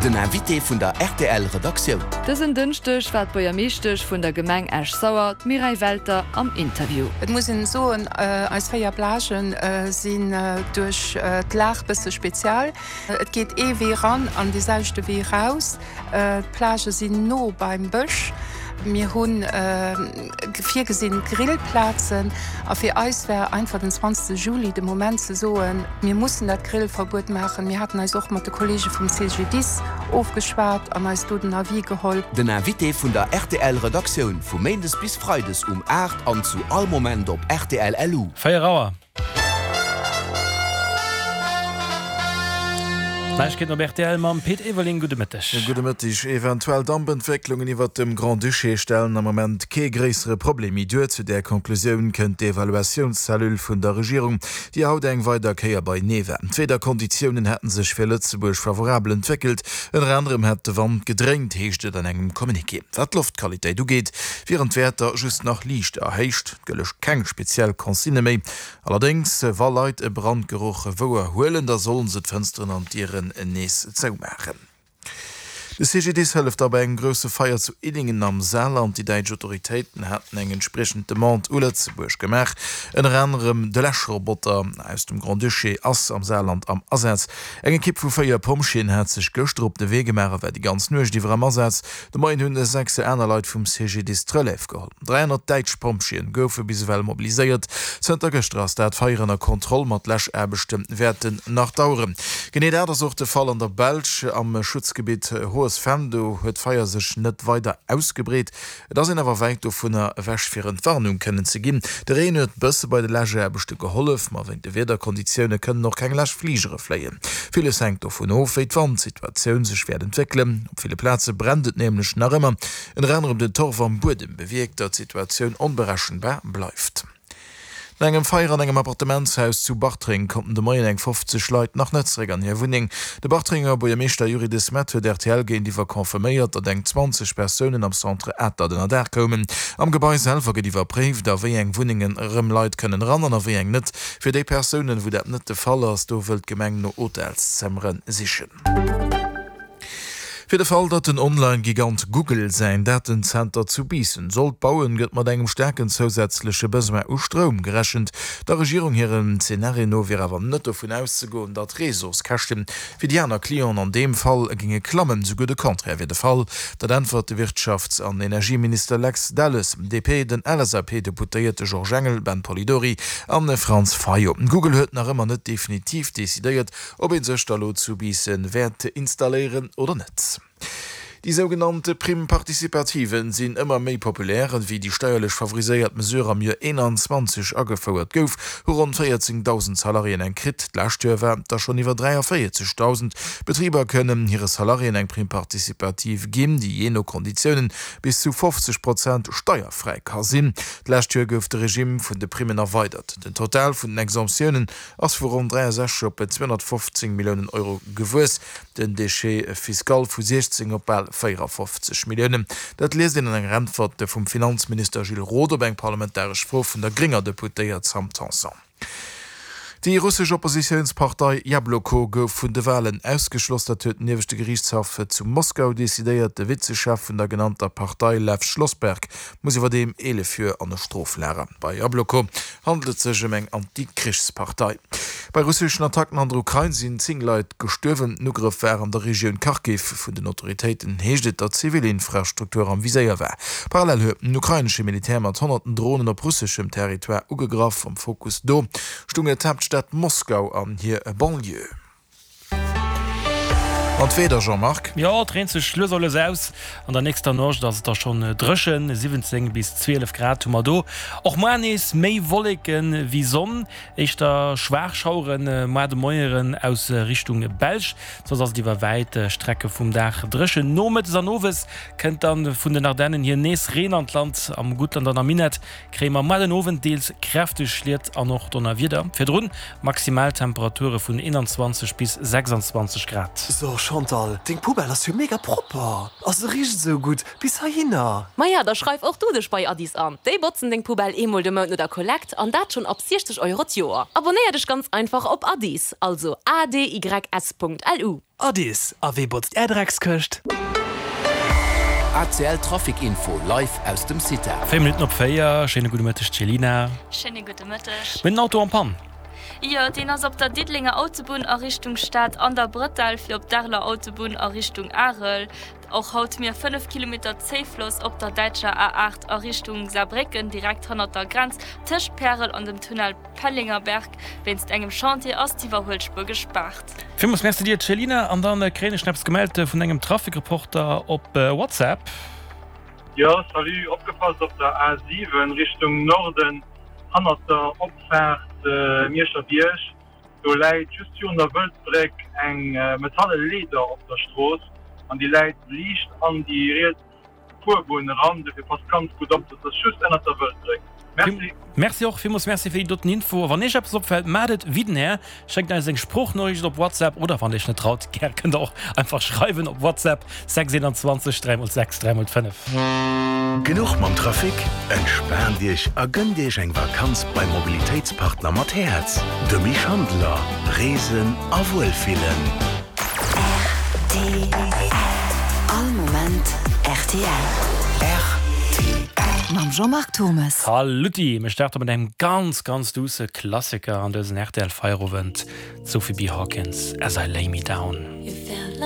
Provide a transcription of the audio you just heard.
Den Invité vun der rtl Redaktioun. Dësen Dënschdeg war d'Buergermeeschtesch vun der Gemeng Esch-Sauer, d'Mireille Welter, am Interview. Et muss een soen, eis 4 Plagen sinn duerch d'Lag bësse spezial. Et geet ee Wee ran an dee selwechte Wee raus. D'Plagë sinn no beim Bësch. Mir hu virgesinn Grillplazen. A fir eis war einfach den 20 Juli de Moment ze soen, mir mussen dat Grillverbuet maachen. Mir haten eis och mat de Kollege vum CGDIS ofgeschwat an eis do den Avis geholl. Den Invité vun der rtl Redaktioun vu Méindes bis Freides um 8 an zu all Moment op rtl LU. 4 Auer. Neiegkeeten op rtl mam Pit Everling. Gudde Mëtteg. Gudde Mëtteg. Eventuell Dampentwécklungen iwwert dem Grand-Duché stellen am Moment kee gréissere Problem méi duer. Zu där Conclusioun kënnt d'Evaluatiounscellule vun der Regierung, déi haut eng weider Kéier beinee war. D'Wiederkonditiounen hätte sech fir Lëtzebuerg favorabel entwéckelt. Ënner anerem hätt de Wand gedréint, heescht et an engem Communiqué. Wat d'Loftqualitéit ugeet, wieren d'Wäerter just nach liicht erhéicht. Et gëlle keng speziell Consignë méi. Allerdéngs, wa Leit e Brandgeroch wouer huelen, da sollen se d'Fënsteren an d'Dieren nees zoumaachen. De CGDIS hëlleft da bei engem grousse Feier zu Illingen am Saarland. Déi däitsch Autoritéiten haten eng entspriechend Demande u Lëtzebuerg gemaach. Ënner anerem de Läschroboter aus dem Grand-Duché ass am Saarland am Asaz. Eng Ekipp vu 4 Pompjeeën hat sech gëschter op de Wee gemaach a war déi ganz Nuecht iwwer am Asaz. De Moien hunn 6 aner Leit vum CGDIS d'Relève geholl. 300 däitsch Pompjeeën goufe bis ewell mobiliséiert. Zënter gëschter ass dat Feier ënner Kontroll, ma d'Läschaarbechte wäerten nach daueren. Genee dat ass och de Fall an der Belsch. Am Schutzgebitt Hohes Venn, do huet d'Feier sech net weider ausgebreet. Et ass een awer wäit dovunner ewech fir Entwarnung kënnen ze ginn. De Reen huet bësse bei de Läschaarbechte gehollef, ma wéint de Wiederkonditioune kënnen och keng Läschfligere fléien. Villes hänkt dovun of, wéi d'Wandsituatioun sech wäert entwéckelen. Op ville Plaze brennt et nämlech nach ëmmer. Ënner anerem den Torf am Buedem bewierkt, datt d'Situatioun onberechenbar bleift. No engem Feier an engem Appartementshaus zu Bartreng konnten de Moien eng 50 Leit nach net zeréck an hir Wunneng. De Bartrenger Buergermeeschter Youri De Smet huet rtl géintiwwer confirméiert, datt eng 20 Persounen am Centre Atert ënnerdaach koumen. Am Gebai selwer gëtt iwwerpréift, a wéi eng Wunnengen erëm Leit kënnen eran an a wéi eng net. Fir déi Persounen, wou dat net de Fall ass, do wëll d'Gemeng no Hotelszëmmere sichen. Fir de Fall, datt den Online-Gigant Google säin Datenzenter zu Biissen sollt bauen, gëtt mat engem staarken zousätzleche Besoin u Stroum gerechent. Der Regierung hirem Zenario no wier awer net dovun auszegoen, datt d'Reseauskäschte fir déi aner Clienten an deem Fall géinge klammen. Souguer de Contraire wier de Fall. Dat äntwert de Wirtschafts an Energieminister Lex Delles, DP, den LSAP-Deputéierte Georges Engel, Ben Polidori an Franz Fayot. Google huet nach ëmmer net definitiv decidéiert, Ob ee sech da lo zu Biissen wäert installéieren oder net? Déi sougenannt Prime participative sinn ëmmer méi populär. Wéi déi steierlech favoriséiert Mesure am Joer 21 agefouert gouf, hu ronn 14.000 Salariéen eng kritt. D'lescht Joer waren et der schonn iwwer 43.000. Betriber kënnen hire Salariéen eng Prime participative ginn, déi jee no Konditiounen bis zu 50 Prozent steierfräi ka sinn. D'lescht Joer gouf de Regimm vun de Primmen erweidert. Den Total vun den Exemptiounen ass vu ronn 63 op 215 Milliounen Euro gewuess, den Déchet fiscal vu 16 op bal 54 Milliounen. Dat liest een an enger Äntwert vum Finanzminister Gilles Roth op eng parlamentaresch Fro vun der grénger Deputéiert Sam Tanson. Déi russesch Oppositiounspartei Jabloko gouf vun de Walen ausgeschloss. Dat huet den ieweschte Geriichtshaff zu Moskau decidéiert. De Vizechef vun der genannter Partei Lew Schlossberg muss iwwerdeem 11 Joer an e Stroflager. Bei Jabloko handelt et sech ëm eng Anti-Krichspartei. Bei russeschen Attacken an der Ukrain sinn 10 Leit gestuerwen. Den Ugrëff war an der Regioun Kharkiv. Vun den Autoritéiten heescht et, datt zivil Infrastruktur am Viséier war. Parallel huet den ukrainesche Militär mat honnerten Dronen op russeschem Territoire ugegraff. Am Fokus do stounge d'Haaptstad Moskau an hir Banlieue. An d'Weeder, Jean-Marc? Jo, et reent sech lues a lues aus. An der nächster Nuecht ass et da schonn dréchen, 17 bis 12 Grad hu mer do. Och muar nees méi Wolleke wéi Sonn, éischter schwaach Schauere muar de Moieren aus Richtung Belsch. Soss ass et iwwer wäit Strecke vum Dag dréchen. Nomëttes an owes kënnt dann vun den Ardennen hier nees Reen an d'Land. Am Guttland an am Minett kréie mer muar den Owend deels kräfteg Schliet an och Donnerwieder. Virdrun Maximaltemperature vun 21 bis 26 Grad. Chantal, deng Poubelle ass jo mega propper a se richt esou gutt bis heihinner! Maja, da schreif och du dech bei Addis an. Déi botzen deng Poubelle eemol de Mount no der Kollekt an dat schonn ab 60 Euro d'Joer. Abonnéier dech ganz einfach op Addis, also adys.lu. Addis, a wee botzt är Dreckskëscht? ACL Trafic Info live aus dem CITA. 4 Minutten op 4, schéine gudde Mëtteg Céline. Schéine gudde Mëtteg. Mir hunn en Auto en panne. Jo, deen ass op der Diddelenger Autobunn a Richtung Stad an der Brëtell fir op d'Areler Autobunn a Richtung Arel. Och haut mir 5 Kilometer Zéifloss op der däitscher A8 a Richtung Saarbrécken, direkt hannert der Grenz tëscht Pärel an dem Tunnel Pellengerberg. Wéinst engem Chantier ass d'Iwwerhuelspuer gespaart. Villmools Merci dir Céline. An dann kréien ech nach eppes gemellt vun engem Trafikreporter op WhatsApp. Jo salut, opgepasst op der A7 Richtung Norden hannert der Opfaart Mierscher Bierg, do läit just virun der Wëldbréck eng metalle Leeder op der Strooss an déi läit liicht an déi riets Fuerbunn eran, dofir passt ganz gutt op, dat ass just ënnert der Wëldbréck. Merci. Merci och, villmools Merci fir déi doten Info. A wann iech eppes opfält, maacht et wéi den Här, schéckt eis eng Sproochnoriicht op WhatsApp oder wann der iech net traut, gär kënnt der och einfach schreiwen op WhatsApp 6 21 3 x 6 3 x 5. Genuch mam Trafic? Entspaant Iech a gënnt Iech eng Vakanz beim Mobilitéitspartner mat Häerz, dem Schandeler. Reesen a Wuelfillen. Rtl. All Moment rtl. Rtl. Mam Jean-Marc Thommes. Saluti! Mir starte mat engem ganz, ganz douce Klassiker an dësen rtl Feierowend, d'Sophie B. Hawkins, As I Lay Me Down.